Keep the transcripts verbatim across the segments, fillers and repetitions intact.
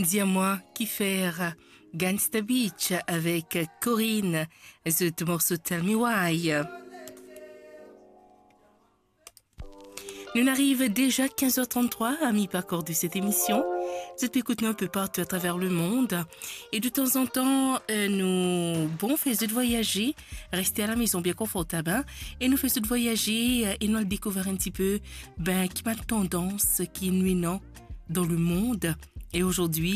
Dis-moi qui faire, Gangsta Beach avec Corinne, zot morso Tell Me Why. Nou ariv deza kinz er tranntrwa, ami pakor de cette émission. Zot pe ekout nou inpe partou atraver lemond. E de tanzantan, euh, nou, bon, fer zot vwayaze, reste a la maison bien confortable, hein, e nou fer zot vwayaze, euh, e nou al dekouvrir un petit peu, ben, ki bann tandans ki nou ena dan lemond. E azordi,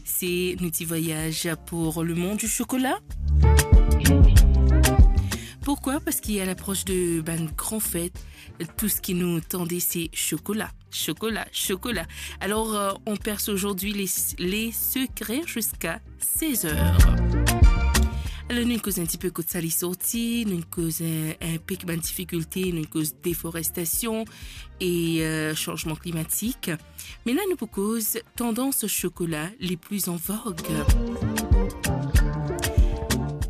se nou ti vwayaz pour le monde du chocolat. Pourquoi ? Parski a lapros de bann gran fet, tou seki nou tande se chocolat, chocolat, chocolat. Alors, euh, on perce aujourd'hui les, les secrets jusqu'à seize heures. Alors, nou koz un petit peu kot sa li sorti, nou koz un, un pe bann difikilte, nou koz deforestasion e, euh, sanzman klimatik. Me la, nou pou koz tandans chocolat les plus en vogue.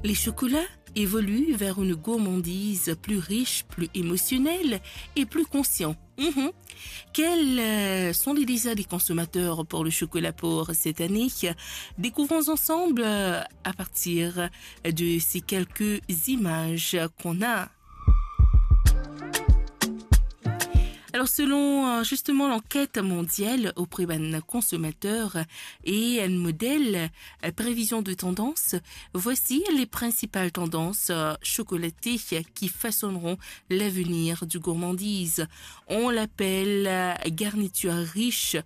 Les chocolats évoluent vers une gourmandise plus riche, plus émotionnelle et plus consciente. Mhm. Quels, euh, sont les désirs des consommateurs pour le chocolat pour cette année ? Découvrons ensemble, euh, à partir de ces quelques images qu'on a. Alors, selon, euh, justement l'enquête mondiale auprès bann consommateurs et un modèle, euh, prévision de tendance, voici les principales tendances, euh, chocolatées qui façonneront l'avenir du gourmandise. On l'appelle, euh, garniture riche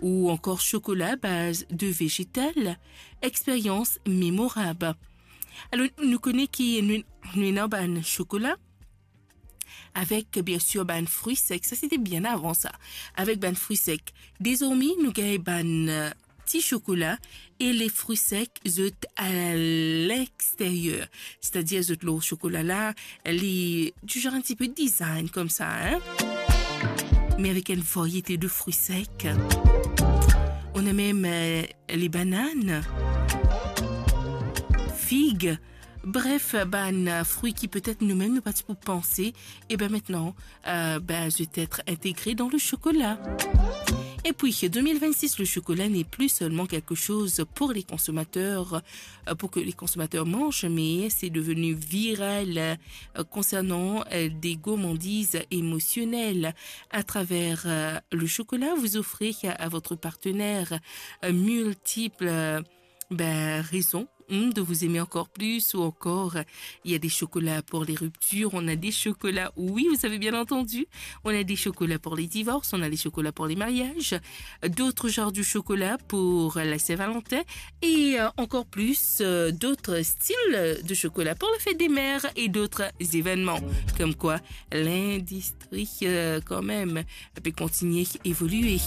ou encore chocolat à base de végétal, expérience mémorable. Alors, nou kone ki nou, nou ena bann chocolat avec, bien sûr, bann fruits secs. Ça, c'était bien avant ça. Avec bann fruits secs. Désormais, nou gagn bann, euh, ti chocolat e les fruits secs, zot à l'extérieur. C'est-à-dire, zot lor chocolat la, li du genre un petit peu design comme ça, hein. Mais avec une variété de fruits secs. On a même, euh, les bananes, figues, bref, bann fruits ki petet nou mem nou pa ti pou panse, e ben maintenant, euh, ben, zot ete integre dan le chocolat. Et puis, deux mille vingt-six, le chocolat n'est plus seulement quelque chose pour les consommateurs, euh, pour que les consommateurs mangent, mais c'est devenu viral, euh, concernant, euh, des gourmandises émotionnelles. À travers, euh, le chocolat, vous offrez à, à votre partenaire, euh, multiples, euh, ben, raisons, hmm, de vous aimer encore plus, ou encore, euh, il y a des chocolats pour les ruptures, on a des chocolats, oui, vous avez bien entendu, on a des chocolats pour les divorces, on a des chocolats pour les mariages, d'autres genres de chocolat pour la Saint-Valentin, et, euh, encore plus, euh, d'autres styles de chocolat pour la fête des mères et d'autres événements. Comme quoi, l'industrie, euh, quand même, pe kontigne evolue.